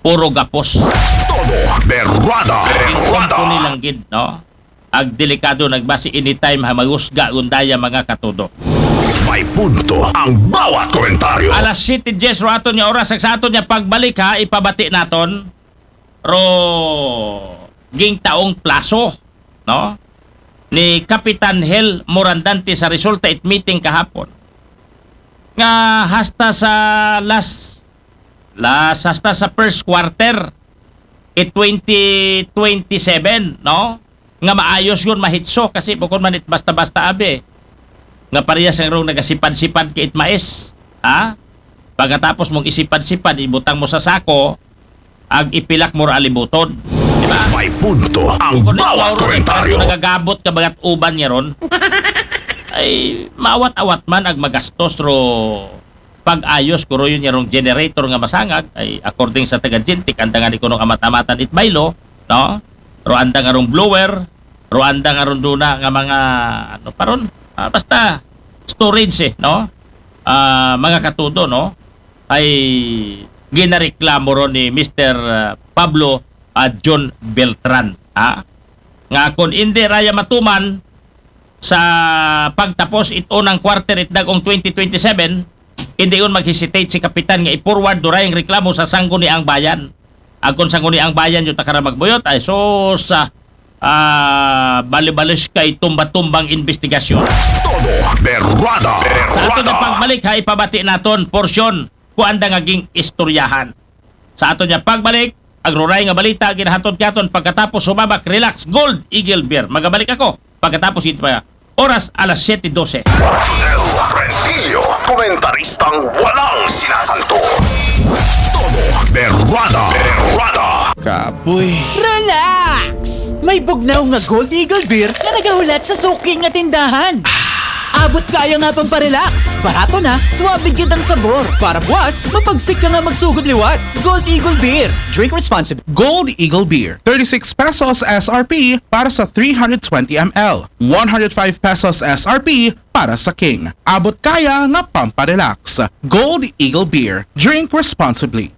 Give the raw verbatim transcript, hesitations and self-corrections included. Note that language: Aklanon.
puro gapos. Todo berwada. Ing Berwada. Company lang gid, no? Ag delikado nagbasi anytime ha magusga gundaya, mga katudo. May punto ang bawat komentaryo. Alas siyete diyes ro aton nga oras, ag sa aton nga pagbalik ha, ipabati naton ro ging taong plaso, no? Ni Kapitan Hel Morandante sa resulta it meeting kahapon. Nga hasta sa last, last hasta sa first quarter it twenty twenty-seven, no? Nga maayos yun, mahitso, kasi bukod man it basta-basta abi. Nga parehas ang rong nagasipad-sipad kay it mais. Ha? Pagkatapos mong isipad-sipad, ibutang mo sa sako, ag ipilak mo ra alibutod. Di ba? May punto ang Kung bawat ikaw rin, komentaryo. Nagagabot ka bagat uban niya ron. Ay, maawat-awat man ag magastos ro pag-ayos ko ro yun yarong generator nga masangag, ay according sa taga Gentic, anda nga ni kunong amat-amatan it baylo, no? Ro anda nga rong blower, ro anda nga rong duna nga mga, ano pa ron? Ah, basta storage eh, no? Ah, mga katudo, no? Ay ginareklamo ron ni Mister, ah, Pablo, ah, John Beltran, ha? Nga kung hindi raya matuman sa pagtapos it unang quarter it dagong twenty twenty-seven, hindi yun mag-hesitate si Kapitan nga i-forward duray ang reklamo sa Sangguniang Bayan. Ag kung Sangguniang Bayan yung takara magbuyot, ay sus, ah, ah, balibalis kay tumba-tumbang investigasyon. Todo berwada. Sa ato Berwada. na pagbalik ha, ipabati naton porsyon kung anda nga ging istoryahan. Sa ato niya pagbalik, ag ruray nga balita ginahatod katon pagkatapos sumabak, relax, Gold Eagle Beer. Magabalik ako pagkatapos ito pa oras alas siyete dose. Rodel Rentillo, komentaristang walang sinasanto. Todo berwada. Berwada. Kapoy. Relax! May bugnaw nga Gold Eagle Beer nga nagahulat sa suki nga tindahan. Abot kaya nga pamparelax. Barato na, suabe gyud ang sabor. Para buwas, mapagsik ka nga magsugod liwat. Gold Eagle Beer. Drink responsibly. Gold Eagle Beer, thirty-six pesos S R P para sa three hundred twenty M L, one hundred five pesos S R P para sa King. Abot kaya nga pamparelax. Gold Eagle Beer. Drink responsibly.